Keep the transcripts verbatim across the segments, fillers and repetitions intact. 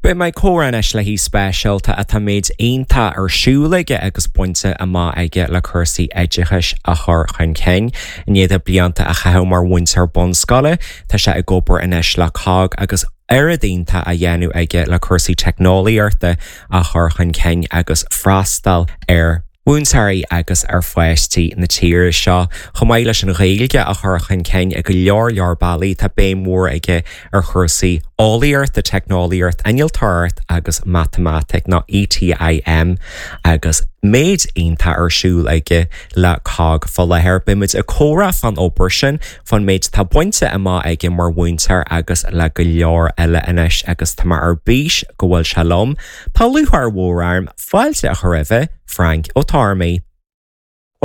Beidh mé ag comhrá anois le haoi speisialta atá méid iontach ar siúl aige agus bainte amach aige le cúrsaí oideachais a chur chun cinn. I ndiaidh dó blianta a chaitheamh mar mhúinteoir bunscoile, tá sé ag obair anois le cogg agus oiread iontach á dhéanamh aige le cúrsaí teicneolaíochta a chur chun cinn agus freastal ar mhúinteoirí agus ar pháistí na tíre seo. Chomh maith leis an Ghaeilge a chur chun cinn ag go leor leor bealaí tá béim mhór aige ar chúrsaí eolaíochta, teicneolaíocht, innealtóireacht agus matamaitic nó ETIM agus méid iontach ar siúl aige le cogg fá láthair. Beimid ag comhrá fán obair sin fán méid tá bainte amach aige mar mhúinteoir agus le go leor eile anois agus tá mé ar bís go bhfuil sé liom. Tá lúcháir mhór orm fáilte a chur roimh Frank Ó Tormaí.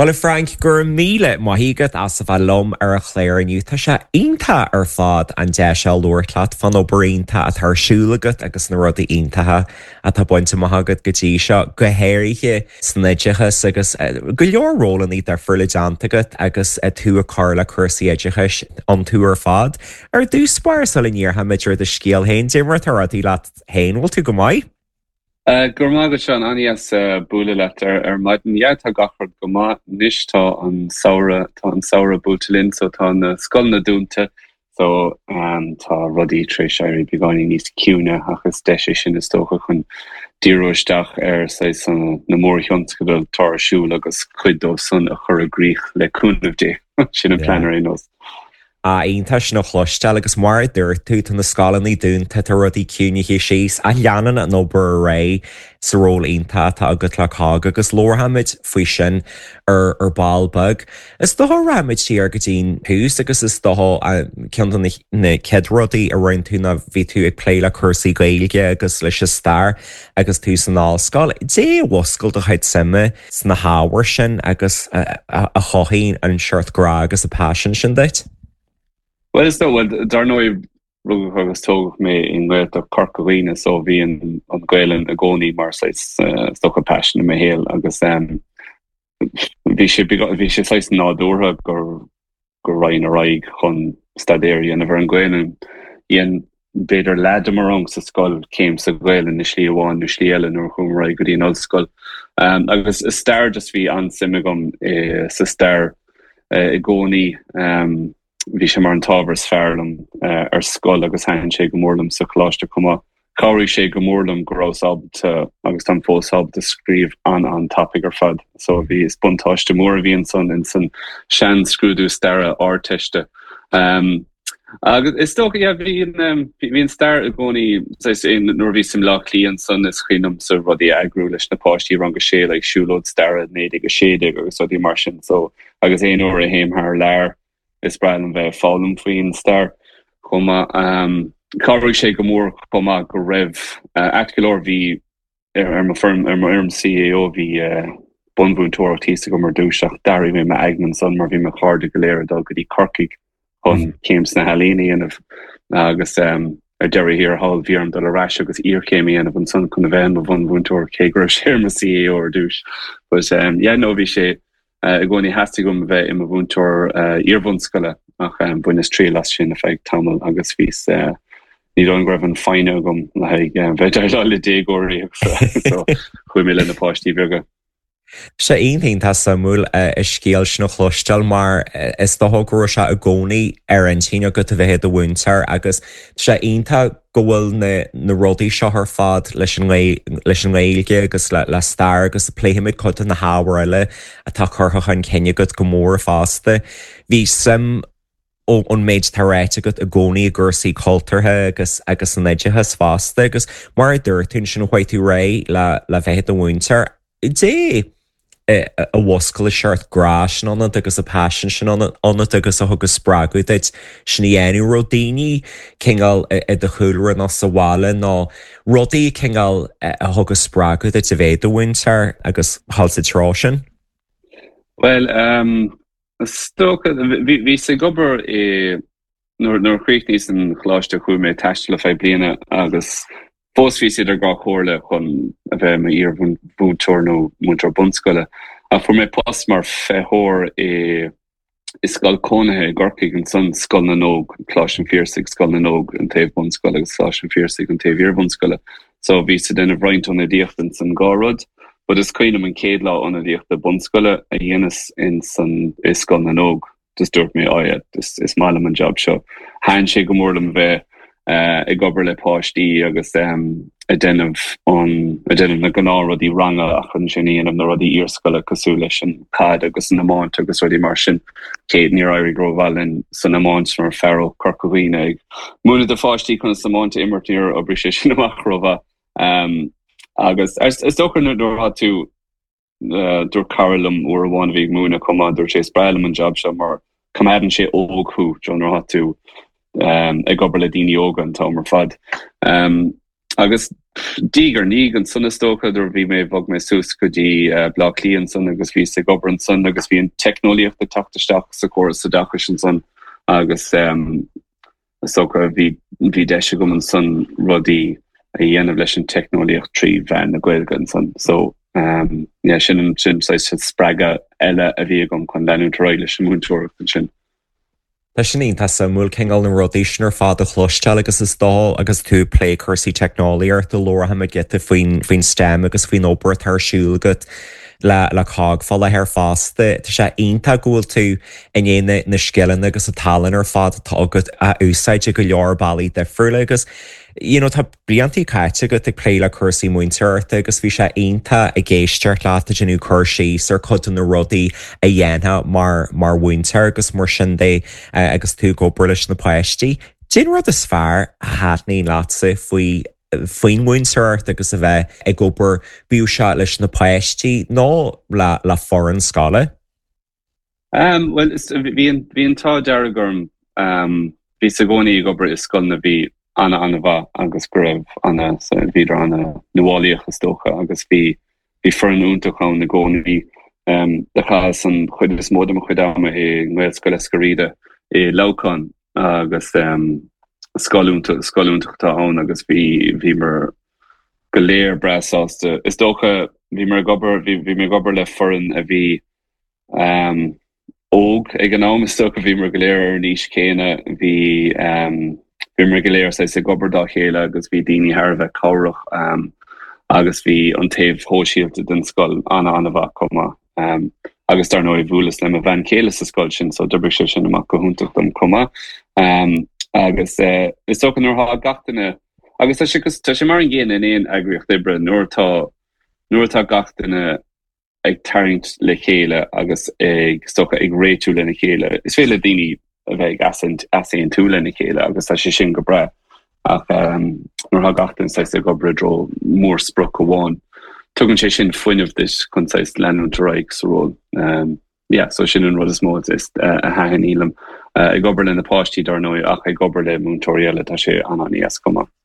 Well a Frank go raibh míle maith agat as a bheith liom ar an chlár inniu Tá sé iontach ar fad an deis a labhairt leat fán obair iontach atá ar siúl agat agus na rudaí iontacha atá bainte amach agat go dtí seo go háirithe san oideachas agus go leor rólanna difriúla déanta agat agus tú ag cur le cúrsaí oideachais iontu ar fad. Ar dtús báire sula ndéarfaimid ar do scéal féin, cad é mar atá rudaí leat féin bhfuil tú go maith? Uh, Gur maith go Seán an-deas uh, bualadh leat ar ar maidin yeah, tá gach rud go maith anois tá an samhradh tá an samhradh buailte linn so tá na scoileanna dúnta so um, tá rudaí tar éis éirí beagáinín níos ciúine ach is deis é sin is dócha chun díriú isteach ar saghas na mórthionscadail atá ar siúl agus cuid dóibh san a chur i gcrích le cúnamh Dé sin an plean ar aon nós. A iontach sin a chloisteáil agus mar a dúirt tú tá na scoileanna dúnta tá rudaí ciúnaithe síos a leanann an obair ar aghaidh sa ról iontach atá agat le cogg agus labharfaimid faoi sin ar ar ball beag. Is dócha rachaimid siar go dtí'n tús agus is dócha ceann de na chéad rudaí a rinne tú ná bhí tú ag plé le cúrsaí Gaeilge agus leis an stair agus tú san ollscoil. Cad é a mhúscail do chuid suime sna hábhair sin agus a chothaigh an seort grá agus an paisean sin duit? Well is dócha well dar ndóigh rugadh agus tógadh mé i nGaeltacht Chorca Dhuibhne so bhí an an Ghaelainn i gcónaí mar saghas uh, is dócha paisean i mo shaol agus um, bhí sé bhí sé saghas nádúrtha gur go raghainn ar aghaidh chun staidéar a dhéanamh ar an Ghaelainn. Dhein b'fhéidir leath de mo rang sa scoil céim sa Ghaelainn i slí amháin nó slí eile nuair a chuaigh ar aghaidh go dtí an ollscoil. Um, agus is stair just bhí an-suim agam i, sa stair uh, i gcónaí um, bhí sé mar an t-ábhar is fearr liom uh, ar scoil agus thaitin sé go mór liom sa choláiste chomh maith. Chabhraigh sé go mór liom go raibh ábalta agus táim fós ábalta scríobh an an-tapaidh ar fad, so bhí is buntáiste mór a bhí ansan in san sean-scrúdú staire Ardteiste. Um, agus is dócha yeah, bhí um, bhí an stair i gcónaí nuair bhí sim lá líon san is cuimhin liomsa rudaí eagrú leis na páistí rang a sé le siúlóid staire naoi déag a sé déag agus rudaí mar sin so agus aon uair a théim thar lear is breá liom bheith foghlaim faoin stair chomh maith um, Chabhraigh sé go mór chomh maith go raibh uh, ait go leor bhí ar ar mo fhoirm ar mo fhoirm CAO bhí uh, bunmhúinteoireacht thíos agam ar dtús ach d'athraigh mé m'aigne ansan mar bhí mo chairde go léir ag dul go dtí Corcaigh chun mm. céim sna healaíona a dhéanamh agus um, ar deireadh thiar thall bhí orm dul ar ais agus iarchéim a dhéanamh ansan chun a bheith i mo bhunmhúinteoir cé go raibh sé ar mo CAO ar dtús. But um, yeah, no bhí sé uh, i gcónaí theastaigh uaim a bheith i mo mhúinteoir uh, iarbhunscoile ach um, bhaineas triail as sin ar feadh tamaill agus bhí uh, ní dóigh go raibh an fhoighne agam le haghaidh bheith déileáil le déagóirí so chuaigh mé le na páistí beaga. Sé iontach suimiúil an scéal sin a chloisteáil mar is dócha go raibh sé i gcónaí ar intinn agat a bheith i do mhúinteoir agus sé iontach go bhfuil na, na rudaí seo ar fad leis an leis an nGaeilge agus le, le stair agus pléifimid cuid de na hábhair eile atá curtha chun cinn agat go mór fosta. Bhí suim ón méid atá ráite agat i gcónaí i gcúrsaí cultúrtha agus agus san oideachas fosta agus mar a dúirt tú sin chuaigh tú réidh le le bheith i do mhúinteoir. Cad é a mhúscail an seort grá sin ionat agus an paisean sin ionat agus a thug spreagadh duit sin a dhéanamh raibh daoine cineál i do chúlra nó sa bhaile nó rudaí cineál a thug spreagadh duit a bheith i do mhúinteoir agus dul sa treo sin? Well um, bhíos ag obair i nuair nuair chríochnaíos an choláiste chuaigh mé taisteal ar feadh bliana agus fós bhíos idir dhá chomhairle chun a bheith mar iar-mhúinteoir nó múinteoir bunscoile. A fuair mé post mar feitheoir i i scoil cónaithe i gCorcaigh ansan, Scoil na nÓg, Coláiste an Phiarsaigh, Scoil na nÓg an taobh bunscoile agus Coláiste an Phiarsaigh an taobh iarbhunscoile. So bhíos ag déanamh roinnt ionadaíochta ins an dhá rud. But is cuimhin liom an chéad lá ionadaíochta bunscoile a dheineas ins an i Scoil na nÓg, just dúirt mé, oh yeah, is, is maith liom an job seo. Thaitin sé go mór liom bheith uh, ag obair le páistí agus um, ag déanamh an ag déanamh na gnáthrudaí ranga ach ansin ag déanamh na rudaí iarscoile cosúil leis an caid agus an iomáint agus rudaí mar sin. Cé níor éirigh rómhaith linn san iomáint mar fear ó Chorca Dhuibhne ag múineadh do pháistí conas iomáint a imirt níor oibrigh sé sin amach rómhaith. Um, agus is dócha nuair atá tú uh, dúirt cara liom uair amháin a bhí ag múineadh chomh maith dúirt sé is breá liom an job seo mar coimeádann sé óg thú nuair atá tú um, ag obair le daoine óga an t-am ar fad. Um, agus diaidh ar ndiaidh ansan is dócha nuair bhí mé bhog mé suas go dtí uh, Bleá Cliath ansan agus bhíos ag obair ansan agus bhí an teicneolaíocht ag teacht isteach sa chóras oideachais ansan agus um, is dócha bhí bhí deis agam ansan rudaí a dhéanamh leis an teicneolaíocht trí mheán na Gaeilge ansan. So um, yeah, sin an sin spreagadh eile a bhí agam chun leanúint ar aghaidh leis an múinteoireacht ansin. Tá sin iontach suimiúil cineál na rudaí sin ar fad a chloisteáil agus is dóigh agus tú ag plé cúrsaí teicneolaíochta labharfaidh muid giota faoin faoin STEM agus faoin obair atá ar siúl agat le le cogg fá láthair fosta. Tá sé iontach go bhfuil tú in ann na scileanna agus an tallann ar fad atá agat a úsáid i go leor bealaí difriúla agus you know, tá blianta caite agat ag plé le cúrsaí múinteoireachta agus bhí sé iontach ag éisteacht leat ag déanamh cur síos ar chuid de na rudaí a dhéanfá mar mar mhúinteoir agus mar sin de uh, agus tú ag obair leis na páistí. Cén rud is fearr a thaitníonn leatsa faoi faoin mhúinteoireacht agus a bheith ag obair bíodh sé leis na páistí nó le le foireann scoile? Um, well bhí bhí an t-ádh dearg orm um, bhíos i gcónaí ag obair i scoil a bhí ana an-mhaith agus go raibh ana bhíodar ana nuálaíoch is dócha agus bhí bhí foireann iontach ann i gcónaí um, do chaitheas an chuid is mó de mo chuid ama i nGaelscoil Eiscir Riada i Leamhcán agus um, scoil iontach atá ann agus bhí bhíomar go léir breá sásta. Is dócha bhíomar ag obair bhí mé ag obair le foireann a bhí um, óg ag an am is dócha bhíomar go léir ar an aois chéanna bhí um, bhíomar go léir ag obair dá chéile agus bhí daoine thar a bheith cabhrach um, agus bhí an taobh sóisialta den scoil ana an-mhaith chomh maith. Um, agus dar ndóigh bhuaileas le mo bhean chéile sa scoil sin so d'oibrigh sé sin amach go hiontach dom chomh maith. Um, agus uh, is dócha nuair atá gach duine agus tá sé tá sé mar an gcéanna in aon eagraíocht oibre nuair atá nuair atá gach duine ag tarraingt le chéile agus ag is dócha ag réitiú lena chéile. Is féidir le daoine a bheith easaontú lena chéile agus tá sé sin go breá ach um, nuair atá gach duine ag obair i dtreo mórsprioc amháin. Tugann sé sin fuinneamh duit chun leanúint ar aghaidh sa ról. Um, yeah, so sin an rud is mó is uh, a thaitníonn liom uh, ag obair le na páistí dar ndóigh ach ag obair le múinteoirí eile tá sé an-an-éasca chomh maith.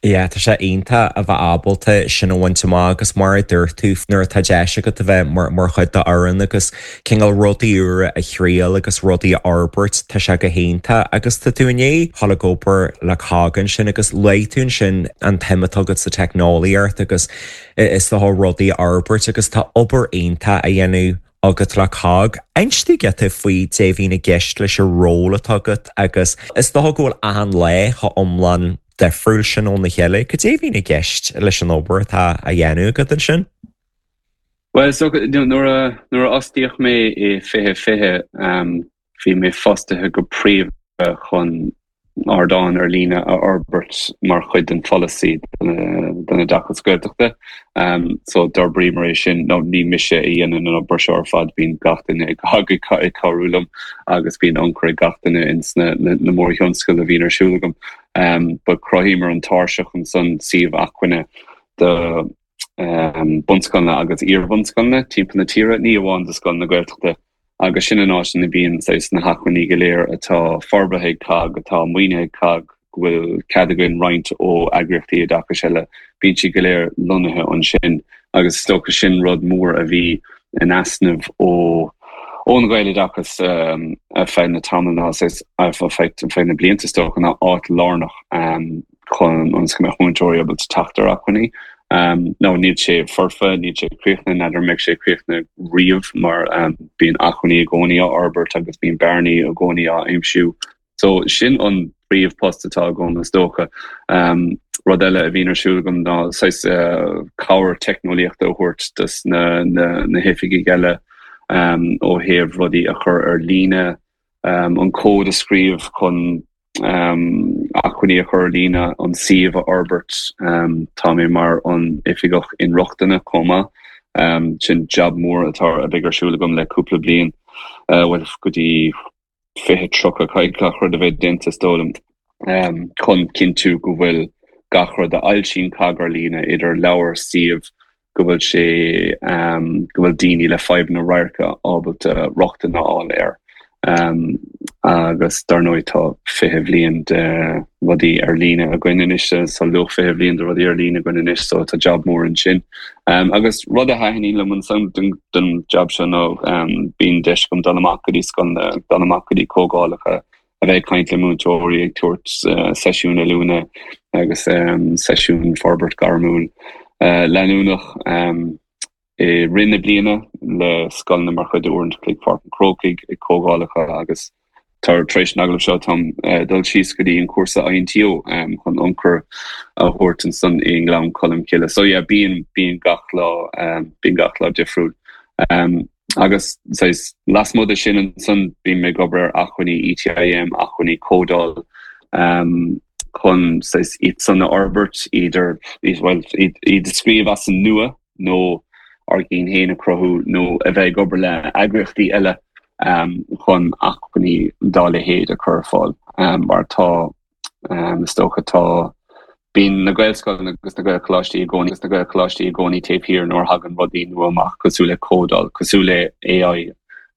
Yeah, tá sé iontach a bheith ábalta sin a bhaint amach agus mar a dúirt tú nuair atá deis agat a bheith mar mar chuid d'fhoireann agus cineál rudaí úra a thriail agus rudaí a fhorbairt tá sé go hiontach agus tá tú i ndiaidh dul ag obair le cogg ansin agus luaigh tú ansin an tsuim atá agat sa teicneolaíocht agus is tá rudaí a fhorbairt agus tá obair iontach á dhéanamh agat le cogg. Inis dúinn giota faoi cad é a bhíonn i gceist leis an ról atá agat agus is dócha go bhfuil achan lá chomh iomlán difriúil sin óna chéile, cad é a bhíonn i gceist leis an obair atá á dhéanamh agat ansin? Well so nuair a nuair a fhostaíodh mé i fiche fiche um, bhí mé fostaithe go príomha chun ardán ar líne a fhorbairt mar chuid den pholasaí don oideachas Gaeltachta. Um, so d'fhorbraíomar é sin nó ní mise a dhéanann an obair seo ar fad bíonn gach duine ag ag cabhrú liom agus bíonn ionchur ag gach duine ins na, na, na mórthionscadail a bhíonn ar siúl agam. Um, ba chruthaíomar an tairseach ansan suíomh acmhainne do um, bunscoileanna agus iarbhunscoileanna timpeall na tíre, ní amháin do scoileanna Gaeltachta agus sin an áit ina bhíonn na hacmhainní go léir atá forbartha ag cogg atá maoinithe ag cogg go bhfuil cead againn roinnt ó eagraíochtaí oideachais eile bíonn siad go léir lonnaithe ansin agus is dócha sin rud mór a bhí in easnamh ó ón Ghaeloideachas um, ar feadh na tamall ná ar feadh na blianta is dócha ná áit lárnach um, chun an go mbeadh múinteoirí ábalta teacht ar acmhainní Um, no níl sé foirfe níl sé críochnaithe n'fheadar mbeidh sé críochnaithe riamh mar um, bíonn acmhainní i gcónaí á fhorbairt agus bíonn bearnaí i gcónaí á aimsiú. So sin an príomhpost atá agam is dócha. Um, rud eile a bhíonn ar siúl agam ná saghas uh, cabhair teicneolaíochta a thabhairt dos na, na, na hoifigigh eile um, ó thaobh rudaí a chur ar líne, um, an cód a scríobh chun um, acmhainní a chur ar líne an suíomh a fhorbairt um, tá mé mar an oifigeach inrochtana chomh maith. Um, sin job mór atá a bheith ar siúl agam le cúpla bliain uh, well go dtí fiche tríocha caoga rud a bheith déanta is dóigh liom um, chun cinntiú go bhfuil gach rud a fhoilsíonn COGG ar líne idir leabhar suíomh go bhfuil sé um, go bhfuil daoine le fadhbanna radhairc ábalta rochtain a fháil air. Um, agus dar ndóigh tá fiche bliain de rudaí ar líne againn anois sa luach fiche bliain de rudaí ar líne againn anois so tá job mór ansin. Um, agus rud a thaitníonn liom ansan den, den job seo nó um, bíonn deis agam dul amach go dtí scoileanna dul amach go dtí comhdhálacha a bheith ag caint le múinteoirí ag tabhairt uh, seisiún oiliúna agus um, seisiún forbairt gairmiúil uh, leanúnach um, i rith na bliana le scoileanna mar chuid d'fhoireann Chloig Pháirc an Chrócaigh ag comhdhálacha agus tar éis an agallaimh seo táim uh, dul síos go dtí an cúrsa INTO um, chun ionchur a thabhairt ansan i nGleann Cholm Cille. So yeah, bíonn bíonn gach lá um, bíonn gach lá difriúil. Um, agus lasmuigh de sin ansan bím ag obair ar acmhainní ETIM acmhainní códáil um, chun iad san a fhorbairt idir well, iad scríobh as an nua nó ár gcinn féin a chruthú nó a bheith ag obair le eagraíochtaí eile um, chun acmhainní dá leithéid a chur fáil um, mar tá um, is dócha tá bíonn na Gaelscoileanna agus na Gaelcholáistí i gcónaí agus na Gaelcholáistí i gcónaí taobh thiar nuair a thagann rudaí nua amach cosúil le códáil, cosúil le AI